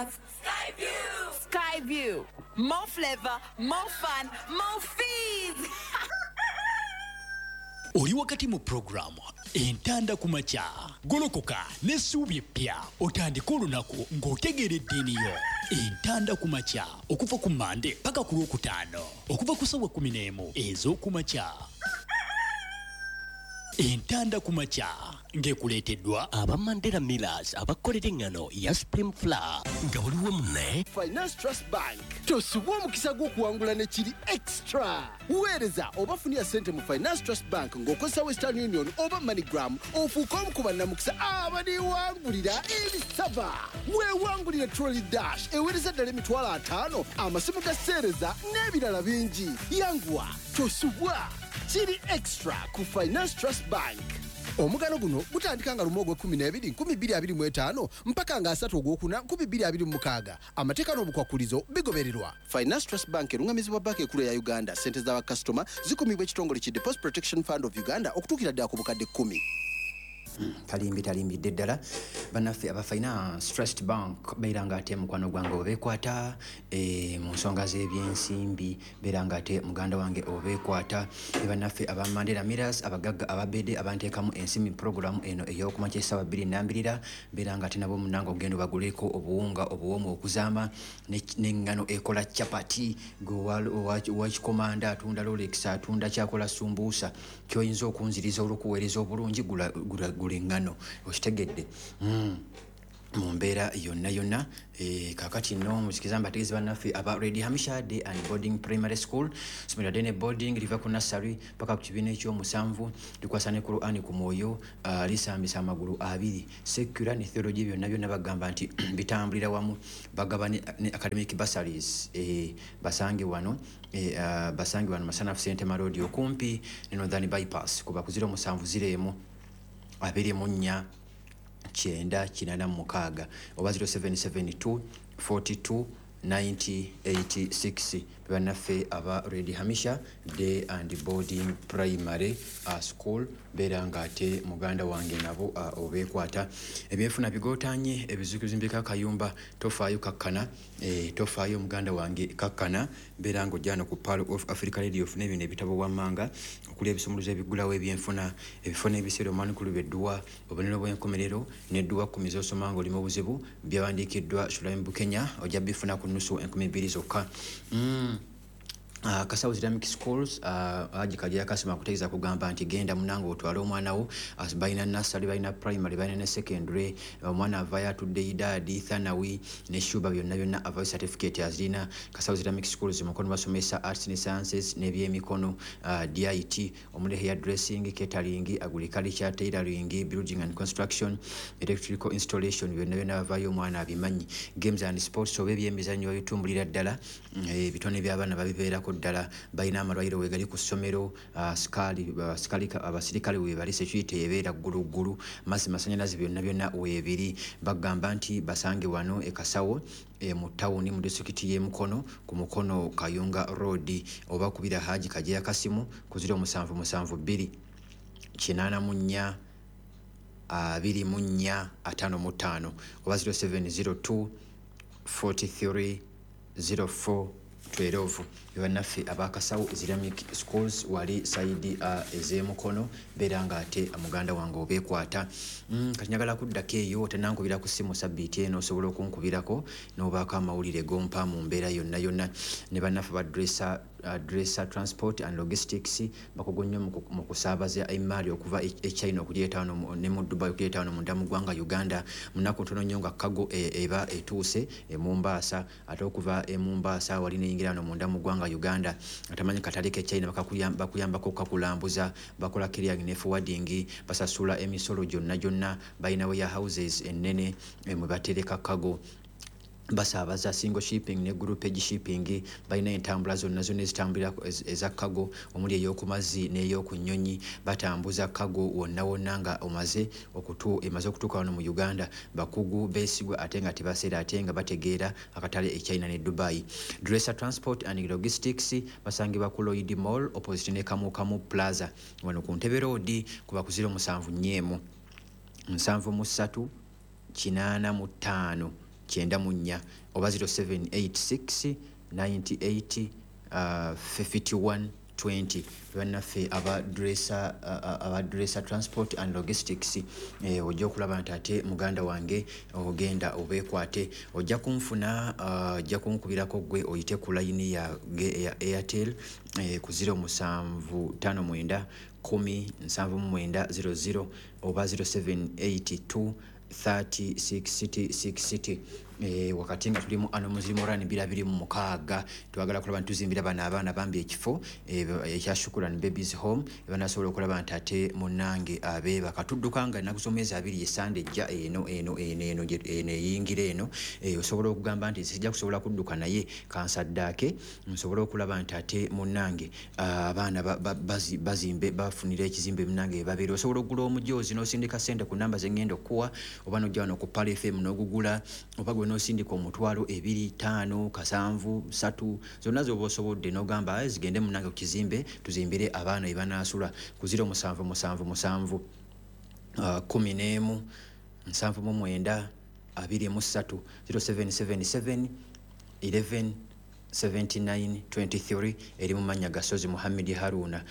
have Skyview! Skyview. More flavor, more fun, more fees! Oli wakati mu puroguramu Entanda ku Makya. Golokoka n'essuubi eppya, otandike olunaku ng'otegeera eddiini yo. Entanda ku Makya okuva ku Mande paka ku Lwokutaano okuva ku ssaawa 11 ez'okumakya. Entanda ku Makya ng'ekuleeteddwa aba Mandela Millers abakolera eŋŋano ya Supreme Flour nga buli wamu ne Finance Trust Bank. Tosubwa omukisa gw'okuwangula ne kiri extra. Weereza oba funira ssente mu Finance Trust Bank ng'okozesa Western Union oba MoneyGram, ofuuke omu ku bannamukisa abaliwangulira ebisaba. Weewangulire Trolley Dash eweereza ddala 50,000, amasimu ga seereza n'ebirala bingi. Yanguwa, tosubwa, kiri extra ku Finance Trust Bank. Omugano guno gutandika nga 1 ogw'e-12 2025 mpaka nga 3 ogwokuna 2026. Amateeka n'obukwakkulizo bigobererwa. Finance Trust Bank erungamizibwa Banka Ekulu eya Uganda. Ssente z'abakasitoma zikumibwa ekitongole ki Deposit Protection Fund of Uganda okutuukira ddala ku bukadde 10. Talimbi, talimbidde ddala. Bannaffe aba Finance Trust Bank, beera nga ate mukwano gwange obeekwata mu nsonga z'ebyensimbi, beera nga ate muganda wange obeekwata. Ne bannaffe aba Mandela Millers, abagagga ababedde abanteekamu ensimbi puroguramu eno ey'okumakya essaawa 2 nambirira, beera nga ate nabo munange ogenda obaguleko obuwunga obuwoomu okuzaama n'eŋŋano ekola chapati. Gwe owakikomanda atunda Rolex, atunda kyakola sumbuusa, kyoyinza okunziriza olw'okuweereza obulungi, gula eŋŋano, okitegedde? Mu mbeera yonna yonna. Kakati nno muzikiza mbategeeza bannaffe aba Red Hamisha Day and Boarding Primary School, somero day ne boarding, liva ku nursery paka ku kibiina ekyomusanvu, likwasa ne Qur'ani ku mwoyo, lisambisa amagulu abiri. Secular ne theology byonna byonna bagamba nti bitambulira wamu. Bagaba ne academic bursaries. Basange wano, basange wano Masanafu Sentema Road, okumpi ne Northern Bypass, kuba ku 07 01 24 90 86 oba 0772 42 9086. Bannaffe aba Red Hamisha Day and Boarding Primary School, beera nga ate muganda wange nabo obeekwata. Ebyenfuna bigootanye, ebizimbiko akayumba, tofaayo, kakkana, tofaayo muganda wange, kakkana, beera nga ojja no ku Pearl of Africa Radio ofune bino ebitabo wammanga okuli ebisumuluzo ebiggulawo ebyenfuna, ebifo n'ebiseera omwanukulu edduwa, obubonero bw'enkomerero n'edduwa 10 z'osoma ng'oli mu buzibu, byawandiikiddwa Shulaim Bukenya, ojja bifuna ku nusu 2000 zokka. Kasawo Islamic Schools, Haji Kajja Kasima akutegeeza kugamba nti genda munange otwale omwana wo. Balina nursery, balina primary, balina ne secondary. Omwana avayo atudde idaadi, thanawi ne shuba, byonna byonna avayo certificate azirina. Kasawo Islamic Schools Mukono basomesa arts ne sciences n'ebyemikono, DIT omuli hair dressing, catering, agriculture, tailoring, building and construction, electrical installation, byonna byonna bavayo omwana abimanyi. Games and sports oba ebyemizannyo babitumbulira ddala. Ebitone by'abaana babibeerako ddala. Balina amalwaliro wegali ku ssomero, abasirikale webali, security ebeera gguluggulu, mazzi, masanyalaze, byonna byonna weebiri. Bagamba nti basange wano e Kasawo, mu tawuni mu disitulikiti y'e Mukono, ku Mukono Kayunga Road, oba kubira Haji Kajeya Kasimu ku 0772 84 24 55 oba 0702 43 04 12. Bannaffe abakasawo Islamic Schools wali side ez'emukono, beera nga ate muganda wange obeekwata. Kati njagala kuddako eyo, tenankubira ku ssimu sabbiiti eno, osobola okunkubirako n'obaako amawulire gompa mu mbeera yonna yonna. Ne bannaffe ba Dresser Transport and Logistics, bakugu nnyo mu kusaabaza emaali okuva e China okugireeta wano ne mu Dubai okugireeta wano munda mu ggwanga Uganda. Mu nnaku ntono nnyo nga cargo eba etuuse e Mombasa, ate okuva e Mombasa wali neyingira wano munda mu ggwanga Uganda. Atamanyi katale ke China, bakuyambako kakulambuza, bakola clearing ne forwarding, basasula emisolo gyonna gyonna, balina warehouses ennene mwe batereka cargo, basaabaza single shipping ne groupage shipping, balina entambula zonna zonna ezitambulira eza cargo omuli ey'oku mazzi n'ey'oku nnyonyi, batambuza cargo wonna wonna nga omaze emaze okutuuka wano mu Uganda. Bakugu beesigwa ate nga tebaseera, ate nga bategeera akatale e China ne Dubai. Dresser Transport and Logistics basangibwa ku Lloyd Mall opposite ne Kamukamu Plaza wano ku Ntebe Road, kuba ku 07 4 73 85. 94 oba 0786 98 51 20. Bannaffe aba Dresser Transport and Logistics, ojja okulaba nti ate muganda wange ogenda obeekwate, ojja kunfuna, ojja kunkubirako gwe oyite ku layini ya Airtel ku 0759 10 79 00 oba 0782 30 60 60. Wakati nga tuli mu ano muzimu rani 2026, twagala kulaba ntuzimbira bana abaana bambi ekifo ekya Shukuran Babies Home banasobola okulaba nti ate munnange abeeba katudduka nga ennaku z'omwezi 2 esande ejja eno eno eno eno eno eyingira eno. Osobola okugamba nti sijja kusobola kudduka naye kansaddaake nsobole okulaba nti ate munnange abaana bazimbe bafunira ekizimbe munnange babeera. Osobola okugula omujoozi n'osindika ssente ku namba ze ngenda okuwa oba n'ojja wano ku Pearl FM n'ogugula oba gwe n'osindika omutwalo 2 5 7 3 zonna z'oba osobolodde n'ogamba zigende munnange ku kizimbe tuzimbire abaana ebanaasula ku 0777 11 79 23 0777 11 79 23 eri mu mannya ga Sozi Muhammad Haruna,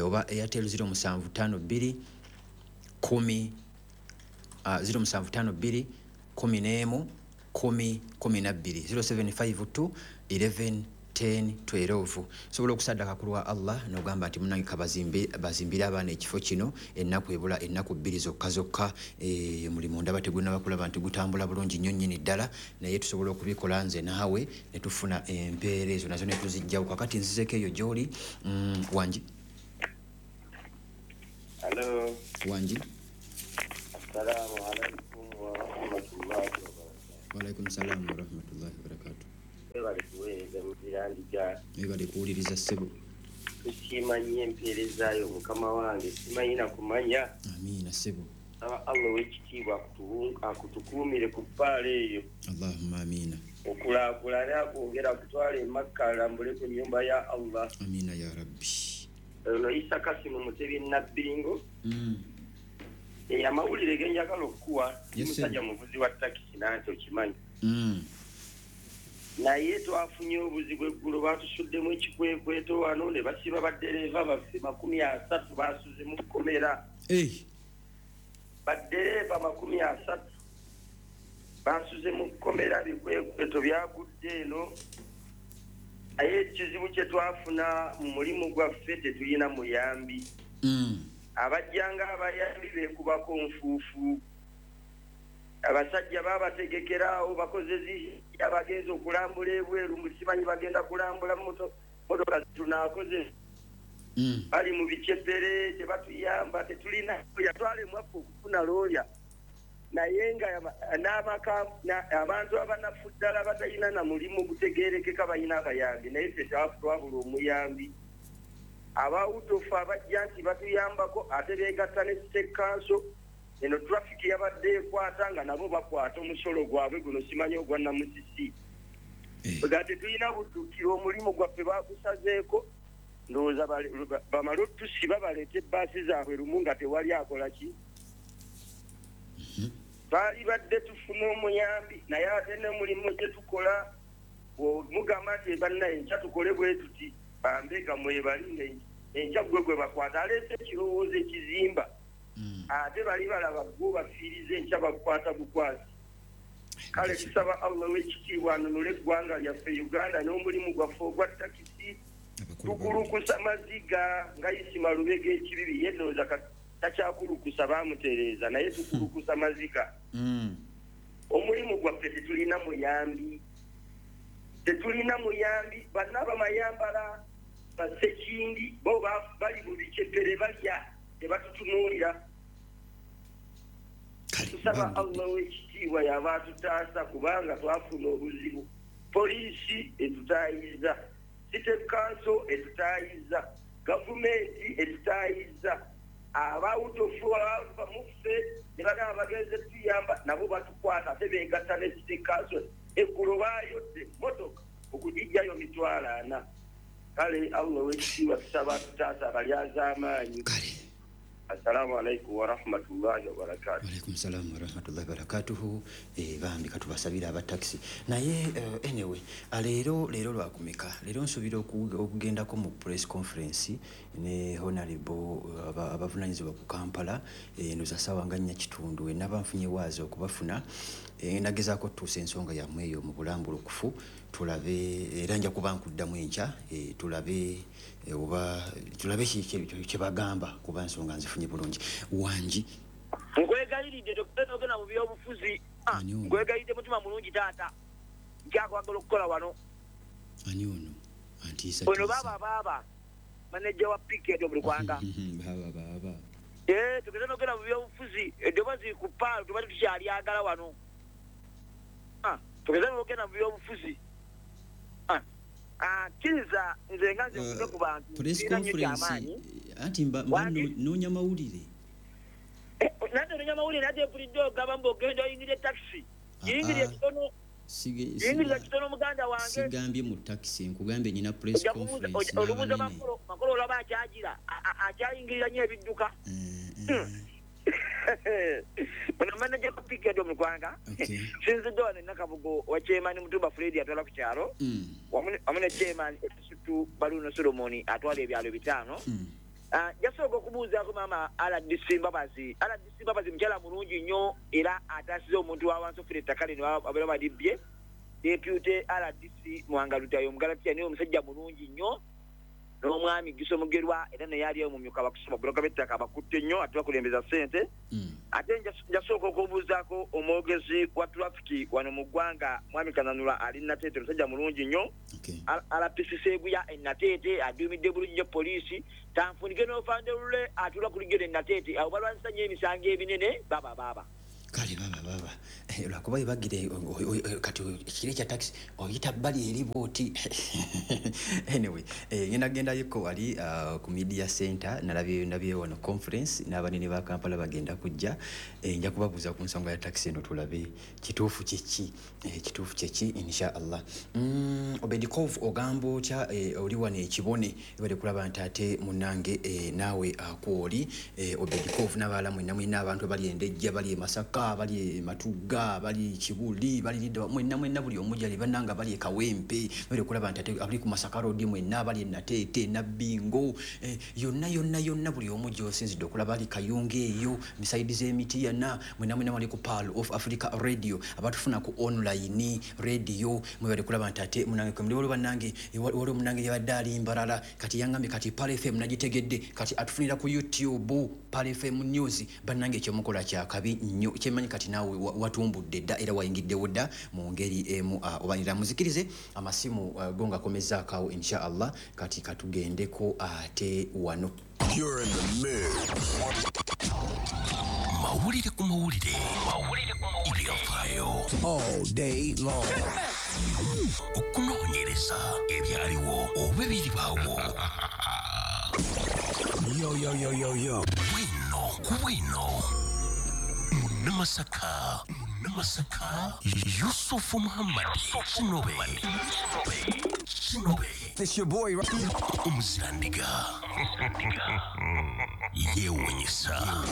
oba Airtel 0752 10 0752 11 10 12 0752 11 10 12. Sobola okusaddaka ku lwa Allah n'ogamba nti munnange bazimbire abaana ekifo kino ennaku ebula ennaku 2 zokka zokka. Omulimu ndaba tegunnaba kulaba nti gutambula bulungi nnyo nnyini ddala, naye tusobola okubikola nze naawe ne tufuna empeera ezo nazo ne tuzijjawo. Kakati nzizeko eyo gy'oli. Wangi. Hello. Wangi. Assalamu alaikum wa rahmatullahi wa barakatuh. Wa alaikum salam wa rahmatullahi wa barakatuh. Webale kuweereza Muzirandiga. Webale kuwuliriza ssebo. Tusiima nnyo empeerezaayo mukama wange, simanyi na kumanya. Amiina ssebo. Saba Allah ow'ekitiibwa akutukuumire ku ppaala eyo. Allahumma amiina. Okulaakulane akwongera akutwala e Makka alambule ku nnyumba ya Allah. Amiina ya Rabbi. Ono Isa Kasimu Mutebi Nabbingo. Amawulire ge njagala okukuwa, musajja muvuzi wa takisi nanti okimanyi. Naye twafunye obuzibu eggulo, batusuddemu ekikwekweto wano ne basiba baddereeva baffe 30 basuze mu kkomera. Baddereeva 30 basuze mu kkomera, bikwekweto byagudde eno. Naye ekizibu kye twafuna mu mulimu gwaffe tetulina muyambi. Abajjanga abayambi beekubako nfuufu. Abasajja babategekeraawo bakoze abagenza okulambula ebweru, musimanyi bagenda kulambula motoka tunaakoze bali mu bicepere tebatuyamba, tetulina yatwale mwaffe okufuna looya, naye nga abantu abanafu ddala batalina na mulimu gutegeerekeka balina abayambi, naye ffe twabula omuyambi. Abawutofu abajja nti batuyambako ate beegatta ne state council. Eno traffic yabadde ekwata nga nabo bakwata omusolo gwabwe guno simanyi ogwa Namusisi. Nga tetulina buddukiro, omulimu gwaffe bagusazeeko, ndowooza bamale otusiba baleete ebbaasi zaabwe lumu nga tewali akola ki. Baali badde tufuna omuyambi, naye ate n'omulimu gye tukola mugamba nti bannaye enkya tukole bwe tuti, bambega mwebali enkya gwe gwe bakwata aleese ekirowoozo ekizimba. Ate bali balaba gwo bafiiriza enkya bakwata bukwasi. Kale tusaba Allah w'ekitiibwa anunule eggwanga lyaffe Uganda n'omulimu gwaffe ogwa takisi. Tukulukusa maziga nga Isima Lubega ekibibi ye ndowooza takyakulukusa baamutereeza, naye tukulukusa maziga. Omulimu gwaffe tetulina muyambi, tetulina muyambi. Banna abamayambala basekindi bo bali mu bicepere balya tebatutunuulira. Tusaba Allah w'ekitiibwa yaba atutaasa kubanga twafuna obuzibu. Poliisi etutaayiza, city council etutaayiza, gavumenti etutaayiza, abawutofu abava muffe ne bagamba bagenze tuyamba nabo batukwata ate beegatta ne city council. Eggulo baayodde motoka okugijjayo 40,000. Kale Allah w'ekitiibwa tusaba atutaasa abalyazaamaanyi. Assalamu alaikum warahmatullahi wabarakatuh. Alaikum salam warahmatullahi wabarakatuh. Bambi katubasabira aba taxi. Naye anyway, leero lwakumeka. Leero nsubira okugendako mu press conference ne honorable abavunanyizibwa ku Kampala ndoza sawa nga 4:15 naba nfunye waazi okubafuna. Nagezaako tutuusa ensonga yammwe eyo mu bulambulukufu tulabe era nja kuba nkuddamu enkya tulabe oba tulabe kye bagamba kuba nsonga nzifunye bulungi. Wangi nkwegayiridde togenda mu byobufuzi, nkwegayiridde mutima mulungi taata, nkyakwagala okukola wano. Ani ono antiisa ono baaba maneja wa PK buli kwanga baaba tugenda nogenda mu byobufuzi, eddoboozi ku paalo tuba tukyalyagala wano. Tugenda nogenda mu byobufuzi. Kkiriza nze nga nze nkuze ku bantu press conference anti mba noonya mawulire. Nange noonya mawulire nate mpulidde ogamba mbu ogenda oyingirire takisi. Yingirire kitono. Yingirira kitono muganda wange. Sigambye mu takisi, nkugambye nyina press conference. Olubuuza Makolo olaba akyagira akyayingirira nnyo ebidduka. Ono manager wa PK mu Ggwanga sinzidde wano Nakabugo wa chairman Mutumba Fred atwala ku kyalo wamu ne chairman Esutu Baluno Solomon atwala ebyalo 5. Jasooka okubuuzaako maama RDC Mbabazi. RDC Mbabazi mukyala mulungi nnyo era ataasiza omuntu wa wansi ofuna ettaka lino abeera balibbye. Deputy RDC Mwanga Lutayo Omugalatiya niwe omusajja mulungi nnyo n'omwami Giso Mugerwa era naye ali omumyuka bakusoma buloka b'ettaka bakutte nnyo ate bakulembeza ssente. Ate njasooka okubuuzaako omwogezi wa trafiki wano mu ggwanga mwami Kananula ali Nateete, omusajja mulungi nnyo. RPC Seguya e Nateete aduumidde bulungi nnyo poliisi. Tanfunike n'ofanderule atuula ku lugero e Nateete, abo balwanyisa nnyo emisango ebinene baaba. Kale baba lwakuba webagire kati ekiro ekya takisi oyita bbali eri bw'oti. Anyway, ngenda gendayoko wali ku media center nalabye wano conference n'abanene ba Kampala bagenda kujja. Nja kubabuuza ku nsonga ya takisi eno tulabe kituufu kiki, kituufu kiki insha Allah. Obedikov ogamba otya oli wano ekibone ebadde kulaba nti ate munnange naawe akwoli Obedikov n'abalala mwenna mwenna abantu abali Endejja, bali e Masaka, bali Matuga, bali Kibuli, bali Lidda, mwenna mwenna buli omu gyali bannanga bali e Kawempe, bali okulaba nti ate abali ku Masaka Road mwenna bali e Nateete, Nabbingo, yonna yonna yonna buli omu gy'osinzidde okulaba ali Kayunga eyo misaidi z'emiti yana mwenna mwenna bali ku Pearl of Africa Radio abatufuna ku online radio mwebale kulaba nti ate munnange kwe muli waliwo bannange waliwo munnange yabadde ali Mbarara kati yangambye kati Pearl FM nagitegedde kati atufunira ku YouTube Pearl FM News. Bannange ekyomukola kyakabi nnyo kyemanyi kati naawe watumbudde dda era wayingiddewo dda mu ngeri emu obanira muzikirize amasimu go ngakomezaako awo insha Allah. Kati katugendeko ate wano. You're in the mix. Mawulire ku mawulire. Mawulire ku mawulire. All day long. Okunoonyereza ebyaliwo oba ebiribaawo. Yo yo yo yo yo. Bwino ku bwino. Munamasaka, Yusufu Muhammad, Kinobe. It's your boy Umuzirandiga. Yewunyisa.